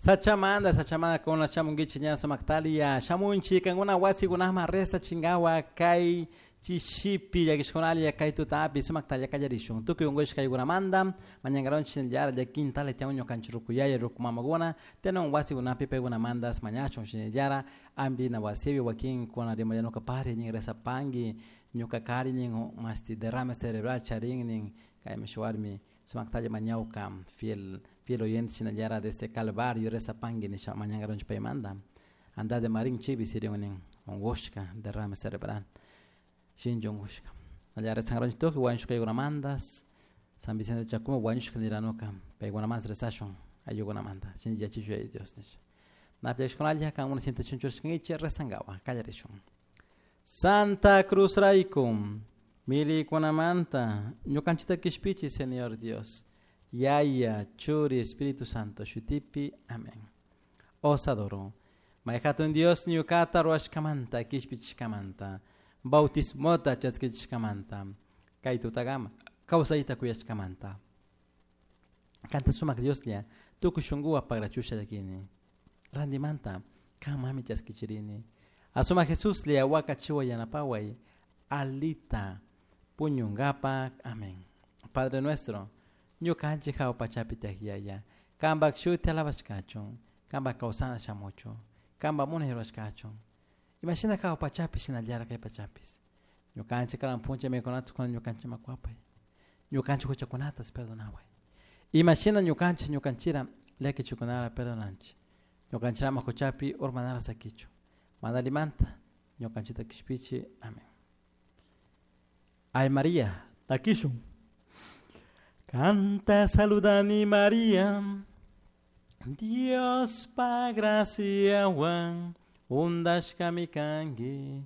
Sachamanda, sachamanda kuna shamunkichik ña sumaktalia shamunchik kankuna wasikunaman rezachinkawa kay chishipi llakishkunalla kay tutapi sumaktalla kallarishun tukuy unkushka kaykunamanta mañankaronchik shinallara llakintala tiyan ñukanchik rukuyaya ruku mamakuna tiyan wasikunapi paykunamantas mañashun shinallara ampina wasipi wakinkuna rimallanuka pari nin rezapanki ñuka kari nin mashti derrame cerebral charin nin kaymi shuk warmi sumaktalla mañawka fiel fiel oyente shinallara desde Calvario rezapanki nisha mañankaronchik paymanta Andate Marín chaypi siriun nin unkushka derrame cerebral shinchi unkushka nallara rezankaronchik tukuy wañushkaykunamantas San Vicente de Chacuma wañushka niranuka paykunamanta rezashun ayllukunamanta shinchi yachishun Yaya Dios nisha Napiashkunalla kankuna sientachun churashkankichik rezankawa kallarishun. Santa Cruz rayku milikunamanta ñukanchikta kishpichi Señor Dios Yaya Churi Espíritu Santo shutipi amén. Os adoro. May hatun Dios ñukata ruwashkamanta kishpichishkamanta bautismota chaskichishkamanta kay tutakama kawsayta kuyashkamanta kanta sumak Dioslla tukuy shunkuwan pagrachusha llakini rantimanta kanmanmi chaskichirini asumak Jesuslla wakachiway yanapaway alita puñunkapak amén. Padre nuestro ñukanchik hawa pachapi tiyak Yaya kanpak shuti alabashkachun kanpak kawsana shamuchun kanpak munay rurashkachun imashina hawa pachapi shinallara kay pachapis ñukanchik karan puncha mikunata kuna ñukanchikman kuwapay ñukanchik huchakunatas perdonaway imashina ñukanchik ñukanchira llakichikunara perdonanchik ñukanchirama huchapi urmanara sakichu mana allimanta ñukanchikta kishpichi amén. Ay María, takishun. Canta saludani María, Dios pa graciawan undashkami kanki.